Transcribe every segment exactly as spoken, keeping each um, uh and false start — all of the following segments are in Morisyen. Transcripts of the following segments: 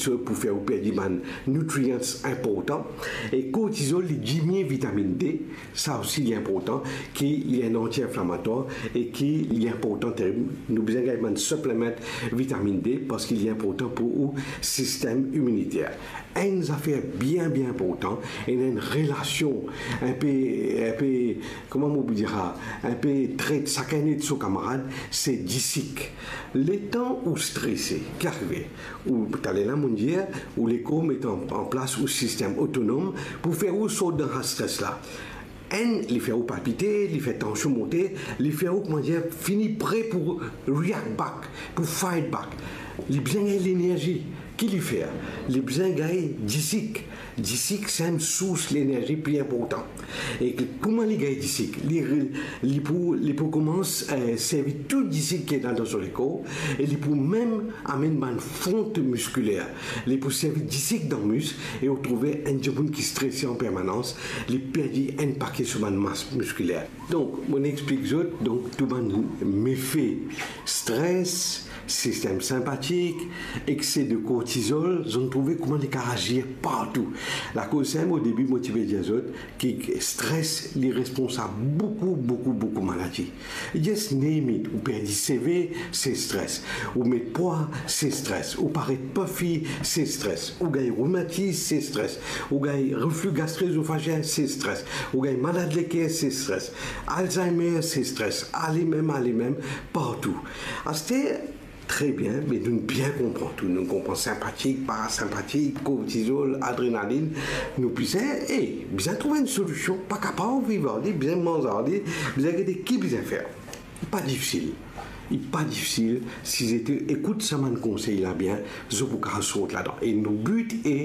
So, pou fer ou perdi bann nutrients inportan. E kortizol, li diminn vitaminn D, sa osi li inportan, ki li enn anti-inflamatwar e ki li inportan terib. Nou bizin gagn bann suplement vitaminn D parski li inportan pou ou sistem iminiter. Enn zafer bien, bien inportan, ena enn relasion inpe, inpe, kouma mo pou dir sa, inpe tret, sakenn ed so kamarad, se disik. Letan ou strese, ki arive? Ou, taler la, mo dir, ou lekor met an, an plas ou sistem otonom pou fer ou sort dan sa stres la. Enn, li fer ou palpite, li fer tansion monte, li fer ou, kouma dir, fini pre pou react back, pou fight back. Li bizin gagn lenerzi. Ki li fer? Li bizin gagn disik. Disik, se enn sours lenerzi pli inportan. E ki, kouma li gagn disik? Li, li pou, li pou koumans, eh, servi tou disik ki ena dan so lekor, e li pou mem amenn bann font miskiler. Li pou servi disik dan mis, e ou trouve enn dimoun ki strese an permanans, li perdi enn pake so bann mas miskiler. Donk, mo explik zot, donk, tou bann mefe stres, sistem sinpatik, ekse de kortizol, zot trouve kouma li kapav azir partou. Lakoz sa, o debi, mo ti pe dir zot ki stres, li responsab boukou, boukou, boukou maladi. Just name it, ou perdi seve, se stres. Ou met pwa, se stres. Ou paret puffy, se stres. Ou gagn rimatiz, se stres. Ou gagn reflux gastro-œsophagien, se stres. Ou gagn malad leker, se stres. Alzheimer, se stres. Ale mem, ale mem, partou. Aster, tre bien, me nou bien konpran tou. Nou konpran sinpatik, parasinpatik, kortizol, adrenalin. Nou bizin, e, bizin trouv enn solision, pa kapav viv ar li, bizin manz ar li, bizin gete ki bizin fer. Li pa difisil. Li pa difisil, si zot ekout sa bann konsey la bien, zot pou kapav sort ladan. E nou bit e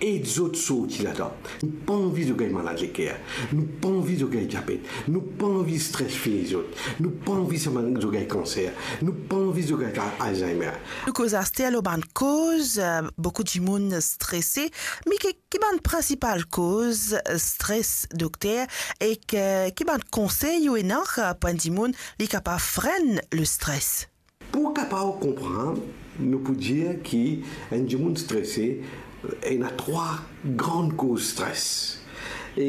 ed zot sorti ladan. Nou pa anvi zot gagn malad leker. Nou pa anvi zot gagn diabet. Nou pa anvi stres fini zot. Nou pa anvi sa bann zot gagn kanser. Nou pa anvi zot gagn Alzheimer. Nou koz aster lor bann koz, eh, boukou dimoun strese, me ki, ki bann prinsipal koz, eh, stres, dokter, e ki, ki bann konsey ou ena, eh, pou enn dimoun li kapav frenn le stres? Pou kapav konpran, nou pou dir ki enn dimoun strese, ena trwa gran koz stres. E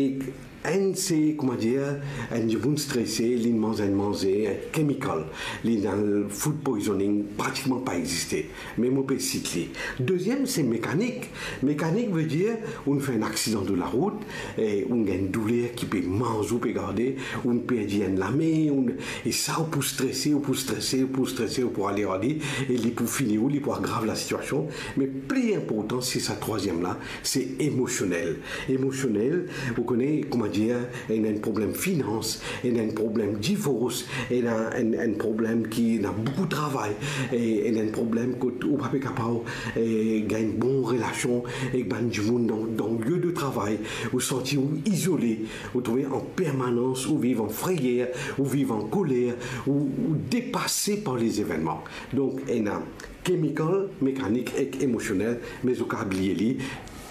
enn se, kouma dir, enn dimoun strese, li manz enn manze, enn kemikal, li ena food poisoning, pratikman pa existe. Me mo pe sit li. Deziem, se mekanik. Mekanik vedir, ou fer enn aksidan de larout, e ou gagn douler ki pe manz ou, pe garde, ou perdi enn lame, ou, e sa ou pou strese, ou pou strese, ou pou strese, ou pou ale, ale, e li pou fini ou, li pou agrav lasitiasion. Me pli inportan, se sa trwaziem la, se emosionel. Emosionel, ou kone, kouma dir, ena enn problem finans, ena enn problem divors, ena enn, enn problem ki ena boukou travay, e ena enn problem kot ou pa pe kapav, e, gagn bon relasion ek bann dimoun dan, dan lie de travay, ou santi ou izole, ou trouve an permanans, ou viv an frayer, ou viv an koler, ou, ou depase par lezevennman. Donk, ena kemikal, mekanik ek emosionel, me zot kapav bliye li.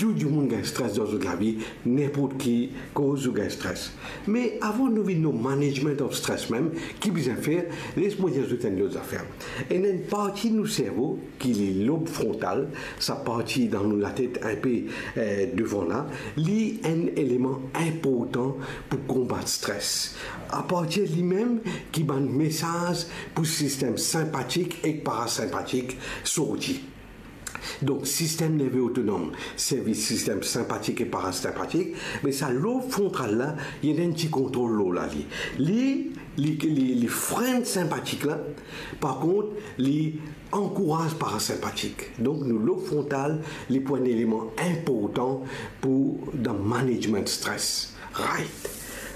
Tou dimoun gagn stres dan zot lavi, ninport ki koz ou gagn stres. Me avan nou vinn lor management of stress mem, ki bizin fer, les mo dir zot enn lot zafer. Ena enn parti nou servo, ki li lob frontal, sa parti dan nou latet inpe, eh, devan la, li enn eleman inportan pou konbat stres. Apartir limem ki bann mesaz pou sistem sinpatik ek parasinpatik sorti. Donk, sistem nerve otonom servi sistem sinpatik e parasinpatik, me sa lob frontal la, li ena enn ti kontrol lor la li. Li, li, li, li frenn sinpatik la, par kont, li ankouraz parasinpatik. Donk, nou lob frontal, li pou enn eleman inportan pou dan management stres. Right.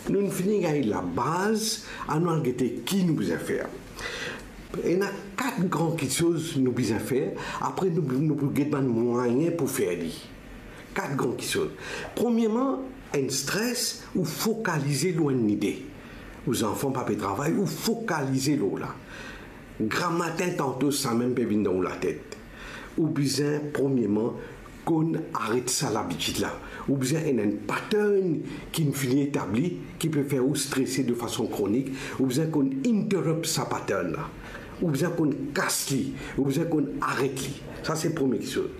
Nou finn fini gagn labaz, anou al gete ki nou bizin fer. Ena kat gran kiksoz nou bizin fer, apre nou, nou pou get bann mwayin pou fer li. Kat gran kiksoz. Premierman, enn stres, ou fokalize lor enn lide. Ou zanfan pa pe travay, ou fokalize lor la. Gramatin tanto samem pe vinn dan ou latet. Ou bizin, premierman, konn aret sa labitid la. Ou bizin ena enn pattern ki finn etabli, ki pe fer ou strese de fason kronik. Ou bizin konn interrupt sa pattern la. Ou bizin konn kas li. Ou bizin konn aret li. Sa se premie kiksoz.